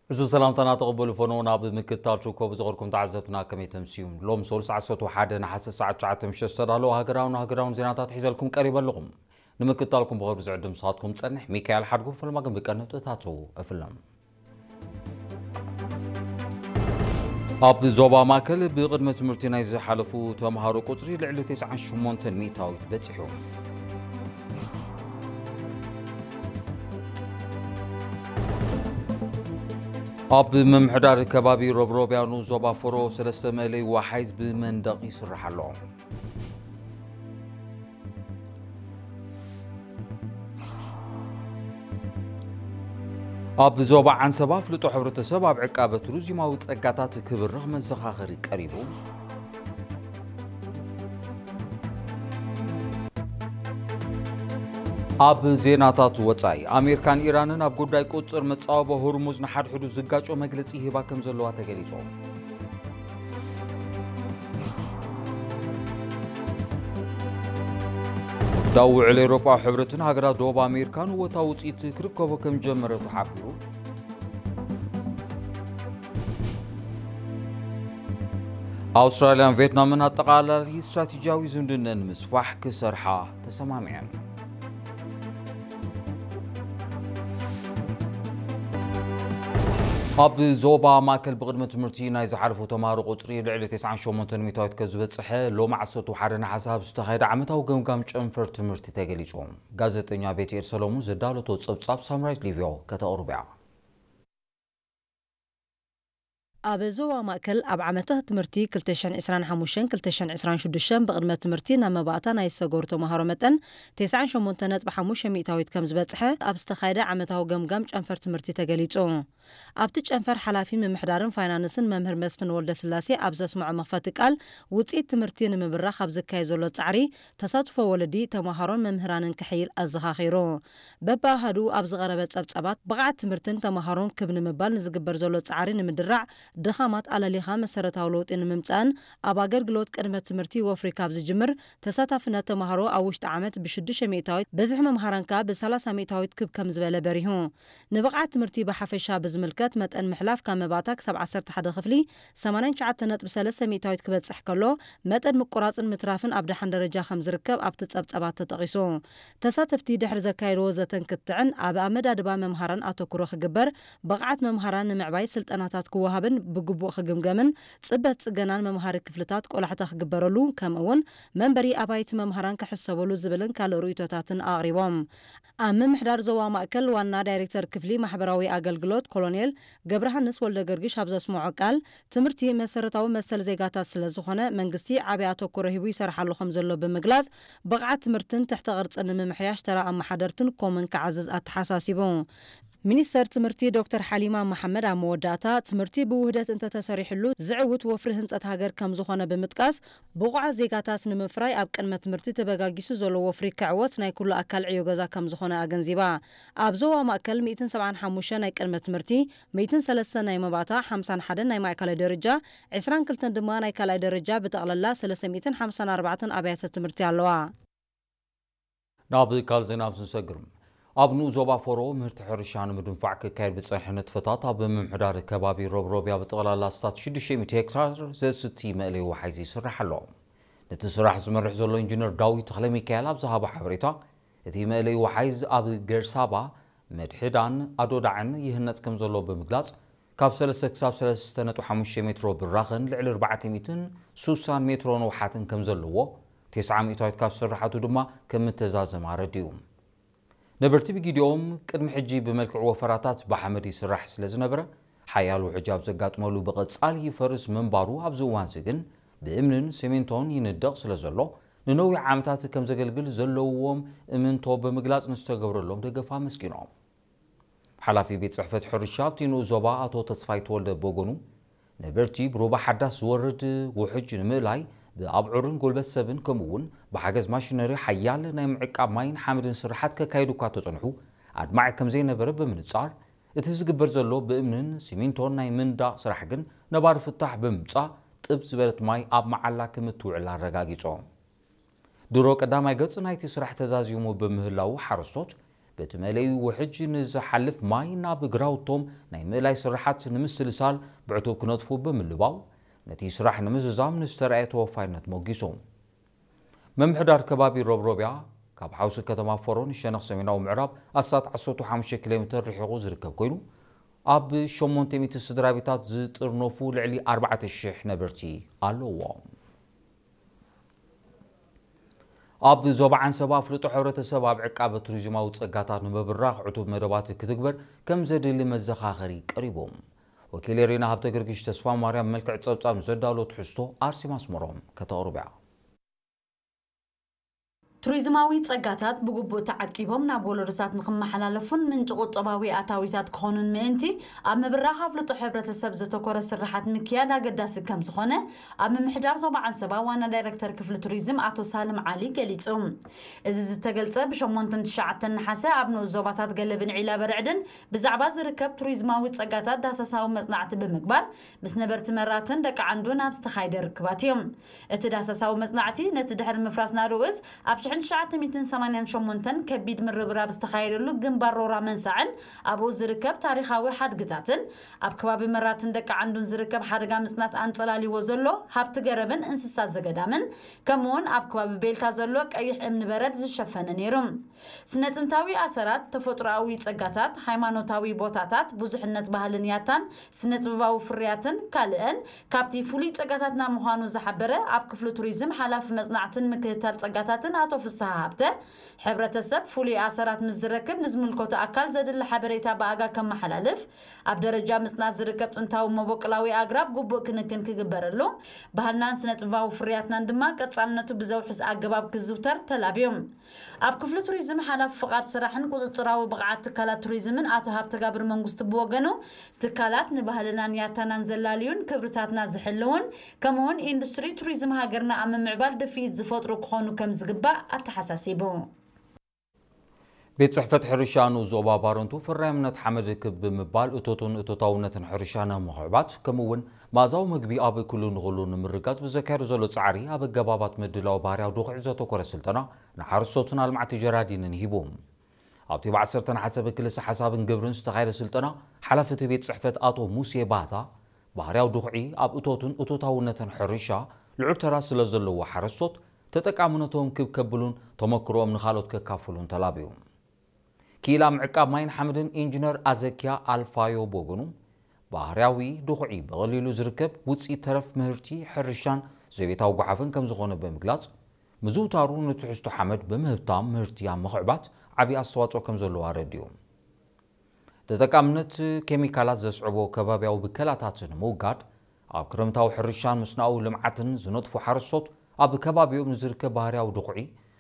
እዚ ሰላምታና ተቐበሉ ፈኖ። ናብ ምክትታል ትርከቡ ዝኸርኩም ተዓዘብትና ከመይ ተምስዩ? ሎም ሶሉስ ዓሰርተ ሓደ ነሓሰ ሰዓት ትሽዓተ ምሸት ዝተዳለወ ሃገራውን ሃገራውን ዜናታት ሒዘልኩም ቀሪበ ኣለኹም። ንምክትታልኩም ብኸብሪ ዝዕድም ንስኻትኩም ጸንሕ ሚካኤል ሓድጉ። ፈለማ ግን ብቀንዲ ነጥብታቱ እፍለም። ኣብ ዞባ ማእከል ብቕድመ ትምህርቲ ናይ ዝሓለፉ ተምሃሮ ቁጽሪ ልዕሊ ተስዓን ሸሞንተን ሚእታዊት በጺሑ። ኣብ ምምሕዳር ከባቢ ሮብሮብያኑ ዞባ ፎሮ ሰለስተ መእለይ ወሓይዝ ብመንደቕ ይስራሕ ኣሎ። ኣብ ዞባ ዓንሰባ ፍልጦ ሕብረተሰብ ኣብ ዕቃበ ቱሪዝማዊ ጸጋታት ክብርኽ መዘኻኸሪ ቀሪቡ። ኣብ ዜናታት ወጻኢ፣ ኣሜሪካን ኢራንን ኣብ ጉዳይ ቁጽር መጻወቦ ሁርሙዝ ንሓድሕዱ ዝጋጮ መግለጺ ይህባ ከም ዘለዋ ተገሊጹ። ዳውዕል ኤውሮጳ ሕብረትን ሃገራት ደቡብ ኣሜሪካን እወታዊ ውጽኢት ክርከቦ ከም ጀመረ ተሓቢሩ። ኣውስትራልያን ቪየትናምን ኣጠቓላሊ ስትራቴጂያዊ ዝምድነን ንምስፋሕ ክሰርሓ ተሰማሚዐን። ኣብ ዞባ ማእከል ብቕድመ ትምህርቲ ናይ ዝሓለፉ ተምሃሮ ቁጽሪ ልዕሊ ተስዓን ሸሞንተን ሚእታዊት ከም ዝበጽሐ ሎሚ ዓሰርተ ሓደ ነሓሰ ኣብ ዝተኻየደ ዓመታዊ ገምጋም ጨንፈር ትምህርቲ ተገሊጹ። ጋዜጠኛ ቤትኤል ሰሎሙን ዘዳለቶ ጸብጻብ ሳምራይት ሊቪዮ ከተቕርብ እያ። ኣብ ዞባ ማእከል ኣብ ዓመተ ትምህርቲ ክልተ ሽሕን ዕስራን ሓሙሽተን ክልተ ሽሕን ዕስራን ሽዱሽተን ብቕድመ ትምህርቲ ናብ መባእታ ናይ ዝሰገሩ ተምሃሮ መጠን ተስዓን ሸሞንተን ነጥቢ ሓሙሽተ ሚእታዊት ከም ዝበጽሐ ኣብ ዝተኻየደ ዓመታዊ ገምጋም ጨንፈር ትምህርቲ ተገሊጹ። ኣብቲ ጨንፈር ሓላፊ ምምሕዳርን ፋይናንስን መምህር መስፍን ወልደስላሴ ኣብ ዘስምዖ መኽፈቲ ቃል፣ ውጽኢት ትምህርቲ ንምብራኽ ኣብ ዝካየድ ዘሎ ጻዕሪ ተሳትፎ ወለዲ፣ ተምሃሮን መምህራንን ክሕይል ኣዘኻኺሩ። በብኣሃዱ ኣብ ዝቐረበ ጸብጻባት፣ ብቕዓት ትምህርትን ተምሃሮን ክብ ንምባል ንዝግበር ዘሎ ጻዕሪ ንምድራዕ፣ ድኻማት ኣለሊኻ መሰረታዊ ለውጢ ንምምጻእን ኣብ ኣገልግሎት ቅድመ ትምህርቲ ወፍሪ ካብ ዝጅምር፣ ተሳታፍነት ተምሃሮ ኣብ ውሽጢ ዓመት ብሽዱሽተ ሚእታዊት፣ ብዝሒ መምሃራን ከኣ ብሰላሳ ሚእታዊት ክብ ከም ዝበለ በሪሁ። ንብቕዓት ትምህርቲ ብሓፈሻ ብዝምልከት፣ መጠን ምሕላፍ ካብ መባእታ ክሳብ ዓሰርተ ሓደ ክፍሊ ሰማንያን ትሽዓተን ነጥቢ ሰለስተ ሚእታዊት ክበጽሕ ከሎ፣ መጠን ምቁራጽን ምትራፍን ኣብ ደሓን ደረጃ ከም ዝርከብ ኣብቲ ጸብጻባት ተጠቒሱ። ተሳተፍቲ ድሕሪ ዘካየድዎ ዘተን ክትዕን፣ ኣብ ኣመዳድባ መምሃራን ኣተኩሮ ክግበር፣ ብቕዓት መምሃራን ንምዕባይ ስልጠናታት ክወሃብን ብግቡእ ክግምገምን፣ ጽበት ጽገናን መምሃሪ ክፍልታት ቆላሕታ ክግበረሉ፣ ከምኡ'ውን መንበሪ ኣባይቲ መምሃራን ክሕሰበሉ ዝብልን ካልእ ርእይቶታትን ኣቕሪቦም። ኣብ ምምሕዳር ዞባ ማእከል ዋና ዳይሬክተር ክፍሊ ማሕበራዊ ኣገልግሎት ኮሎኔል ገብረሃንስ ወልደገርግሽ ኣብ ዘስምዖ ቃል፣ ትምህርቲ መሰረታዊ መሰል ዜጋታት ስለ ዝኾነ፣ መንግስቲ ዓቢ ኣተኩሮ ሂቡ ይሰርሓሉ ከም ዘሎ ብምግላጽ፣ ብቕዓት ትምህርትን ትሕተ ቅርጽን ንምምሕያሽ ተራ ኣመሓደርትን ኮምን ክዓዝዝ ኣተሓሳሲቡ። ሚኒስተር ትምህርቲ ዶክተር ሓሊማ መሓመድ ኣብ መወዳእታ፣ ትምህርቲ ብውህደት እንተተሰሪሕሉ ዝዕውት ወፍሪ ህንጸት ሃገር ከም ዝኾነ ብምጥቃስ፣ ብቑዓት ዜጋታት ንምፍራይ ኣብ ቅድመ ትምህርቲ ተበጋጊሱ ዘሎ ወፍሪ ክዕወት ናይ ኩሉ ኣካል ዕዮ ገዛ ከም ዝኾነ ኣገንዚባ። ኣብ ዞባ ማእከል ሚእትን ሰብዓን ሓሙሽተ ናይ ቅድመ ትምህርቲ፣ ሚእትን ሰለስተን ናይ መባእታ፣ ሓምሳን ሓደን ናይ ማእከላይ ደረጃ፣ ዕስራን ክልተን ድማ ናይ ካልኣይ ደረጃ፣ ብጠቕላላ ሰለስተ ሚእትን ሓምሳን ኣርባዕተን ኣብያተ ትምህርቲ ኣለዋ። ናብ ካልእ ዜና ምስ ንሰግር፣ ኣብ ንኡስ ዞባ ፎሮ ምህርቲ ሕርሻ ንምድንፋዕ ክካየድ ብጸንሐ ንጥፈታት ኣብ ምምሕዳር ከባቢ ሮብሮብያ ብጠቕላላ ኣስታት ሽዱሽተ ሚእቲ ሄክታር ዘስቲ መእለይ ወሓይዝ ይስራሕ ኣሎ። ነቲ ስራሕ ዝመርሕ ዘሎ ኢንጂነር ዳዊት ተኽለሚካኤል ኣብ ዝሃቦ ሓበሬታ፣ እቲ መእለይ ወሓይዝ ኣብ ገርሳባ፣ መድሕዳን ኣዶዳዕን ይህነጽ ከም ዘሎ ብምግላጽ፣ ካብ ሰለስተ ክሳብ ሰለስተ ነጥቢ ሓሙሽተ ሜትሮ ብራኸን ልዕሊ ኣርባዕተ ሚእትን ስሳን ሜትሮ ንውሓትን ከም ዘለዎ፣ ተስዓ ሚእታዊት ካብ ስርሓቱ ድማ ከም እተዛዘመ ኣረዲኡ። ነበርቲ ብጊዲኦም ቅድሚ ሕጂ ብመልክዕ ወፈራታት ብሓመድ ይስራሕ ስለ ዝነበረ፣ ሓያል ውሕጅ ኣብ ዘጋጥመሉ ብቐጻሊ ይፈርስ ምንባሩ፣ ኣብዚ እዋንዚ ግን ብእምንን ሲሚንቶን ይንደቕ ስለ ዘሎ፣ ንነዊሕ ዓመታት ከም ዘገልግል ዘለዎም እምንቶ ብምግላጽ ንዝተገብረሎም ደገፍ ኣመስጊኖም። ሓላፊ ቤት ጽሕፈት ሕርሻ ኣብቲ ንኡስ ዞባ ኣቶ ተስፋይ ተወልደ ብወገኑ፣ ነበርቲ ብሩባ ሓዳስ ዝወርድ ውሕጅ ንምእላይ ብኣብዑርን ጉልበት ሰብን ከምኡ እውን ብሓገዝ ማሽነሪ ሓያል ናይ ምዕቃብ ማይን ሓመድን ስርሓት ከካይዱ እኳ ተጸንሑ፣ ኣድማዒ ከም ዘይነበረ ብምንጻር፣ እቲ ዝግበር ዘሎ ብእምንን ሲሚንቶን ናይ ምንዳቕ ስራሕ ግን ነባሪ ፍታሕ ብምምጻእ፣ ጥብ ዝበለት ማይ ኣብ መዓላ ከም እትውዕል ኣረጋጊጾም። ድሮ ቀዳማይ ገጽ ናይቲ ስራሕ ተዛዚሙ ብምህላዉ፣ ሓረስቶት በቲ መለዩ ውሕጅ ንዝሓልፍ ማይ ናብ ግራውቶም ናይ ምእላይ ስራሓት ንምስልሳል ብዕቱብ ክነጥፉ ብምልባው፣ ነቲ ስራሕ ንምዝዛም ንዝተረኣየ ተወፋይነት ሞጊሶም። ምምሕዳር ከባቢ ሮብሮብያ ካብ ሓውሲ ከተማ ፎሮ ንሸነኽ ሰሜናዊ ምዕራብ ኣስታት ዓሰርተ ሓሙሽተ ኪሎ ሜትር ርሒቑ ዝርከብ ኮይኑ፣ ኣብ ሸሞንተ ሚእቲ ስድራ ቤታት ዝጥርነፉ ልዕሊ ኣርባዕተ ሽሕ ነበርቲ ኣለዎም። ኣብ ዞባ ዓንሰባ ኣፍልጦ ሕብረተሰብ ኣብ ዕቃበ ቱሪዝማዊ ጸጋታት ንምብራኽ ዕቱብ መደባት ክትግበር ከም ዘድሊ መዘኻኸሪ ቀሪቡ። ወኪል ኤሪና ሃብተ ጊዮርጊስ ተስፋ ማርያም መልክዕ ጸብጻብ ዘዳሎ ትሕዝቶ ኣርሴማ ኣስመሮም ከተቕርብ እያ። ቱሪዝማዊ ጸጋታት ብግቡእ ተዓቂቦም ናብ ወለዶታት ንኽመሓላለፉን ምንጪ ቁጠባዊ ኣታዊታት ክኾኑን ምእንቲ፣ ኣብ ምብራኽ ኣፍልጦ ሕብረተሰብ ዘተኮረ ስርሓት ምክያድ ኣገዳሲ ከም ዝኾነ ኣብ ምምሕዳር ዞባ ዓንሰባ ዋና ዳይረክተር ክፍሊ ቱሪዝም ኣቶ ሳልም ዓሊ ገሊጹ። እዚ ዝተገልጸ ብ ሸሞንተን ትሽዓተን ነሓሰ ኣብ ንኡስ ዞባታት ገለብን ዒላ በርዕድን ብዛዕባ ዝርከብ ቱሪዝማዊ ጸጋታት ዳህሳሳዊ መጽናዕቲ ብምግባር ምስ ነበርቲ መራትን ደቂ ዓንዱን ኣብ ዝተኻየደ ርክባት እዩ። እቲ ዳህሳሳዊ መጽናዕቲ ነቲ ድሕሪ ምፍራስ ናድኡስ ኣብ ሽሕን ትሽዓተ ሚእትን ሰማንያን ሸሞንተን ከቢድ ምርብራብ ዝተኻየደሉ ግንባር ሮራ መንሳዕን ኣብኡ ዝርከብ ታሪኻዊ ሓድግታትን ኣብ ከባቢ መራትን ደቂ ዓንዱን ዝርከብ ሓደጋ ምጽናት ኣንጸላልይዎ ዘሎ ሃብቲ ገረብን እንስሳ ዘገዳምን ከምኡውን ኣብ ከባቢ ቤልታ ዘሎ ቀይሕ እምኒ በረድ ዝሸፈነ ነይሩ። ስነ ጥንታዊ ኣሰራት፣ ተፈጥሮኣዊ ጸጋታት፣ ሃይማኖታዊ ቦታታት፣ ብዙሕነት ባህልን ያታን፣ ስነ ጥበባዊ ፍርያትን ካልእን ካብቲ ፍሉይ ጸጋታትና ምዃኑ ዝሓበረ ኣብ ክፍሊ ቱሪዝም ሓላፊ መጽናዕትን ምክትታል ጸጋታትን ኣቶ ፍስሃ ሃብተ፣ ሕብረተሰብ ፍሉይ ኣሰራት ምስ ዝረክብ ንዝምልከቶ ኣካል ዘድሊ ሓበሬታ ብኣጋ ከመሓላልፍ፣ ኣብ ደረጃ ምጽናት ዝርከብ ጥንታዊ መበቆላዊ ኣግራብ ግቡእ ክንክን ክግበረሉ፣ ባህልናን ስነ ጥበባዊ ፍርያትናን ድማ ቀጻልነቱ ብዘውሕስ ኣገባብ ክዝውተር ተላብዩ። ኣብ ክፍሊ ቱሪዝም ሓላፊ ፍቓድ ስራሕን ቁጽጽራዊ ብቕዓት ትካላት ቱሪዝምን ኣቶ ሃብተጋብር መንግስቱ ብወገኑ፣ ትካላት ንባህልናን ያታናን ዘላልዩን ክብርታትና ዝሕልውን ከምኡውን ኢንዱስትሪ ቱሪዝም ሃገርና ኣብ ምምዕባል ድፍኢት ዝፈጥሩ ክኾኑ ከም ዝግባእ ኣተሓሳሲቡ። ቤት ጽሕፈት ሕርሻ ንኡስ ዞባ ባረንቱ ፈራይነት ሓመድ ክብ ብምባል እቶትን እቶታውነትን ሕርሻ ንምኽዕባት ከምኡ እውን መኣዛዊ ምግቢ ኣብ ኩሉ ንኹሉ ንምርጋጽ ብዘካየዱ ዘሎ ጻዕሪ ኣብ ኣገባባት ምድላው ባህርያዊ ድኹዒ ዘተኮረ ስልጠና ንሓረስቶትን ኣልማዕቲ ጀራዲንን ሂቡ። ኣብቲ ብዓሰርተ ነሓሰ ብክልሰ ሓሳብን ግብርን ዝተኻየደ ስልጠና ሓላፊ እቲ ቤት ጽሕፈት ኣቶ ሙሴ ባህታ ባህርያዊ ድኹዒ ኣብ እቶትን እቶታውነትን ሕርሻ ልዑል ተራ ስለ ዘለዎ ሓረስቶት ተጠቃምነቶም ክብ ከብሉን ተመክሮኦም ንኻልኦት ከካፍሉን ተላብዩ። ክኢላ ምዕቃብ ማይን ሓመድን ኢንጂነር ኣዘኪያ ኣልፋዮ ብወገኑ ባህርያዊ ድኹዒ ብቐሊሉ ዝርከብ ውፅኢት ተረፍ ምህርቲ ሕርሻን ዘቤታዊ ጓሓፍን ከም ዝኾነ ብምግላጽ ምዝውታሩ ንትሕዝቶ ሓመድ ብምህብታም ምህርቲ ኣብ ምኽዕባት ዓብዪ ኣስተዋፅኦ ከም ዘለዎ ኣረዲኡ። ተጠቃምነት ኬሚካላት ዘስዕቦ ከባብያዊ ብከላታት ንምውጋድ ኣብ ክረምታዊ ሕርሻን መስኖኣዊ ልምዓትን ዝነጥፉ ሓረስቶት ኣብ ከባቢኦም ንዝርከብ ባህርያዊ ድኹዒ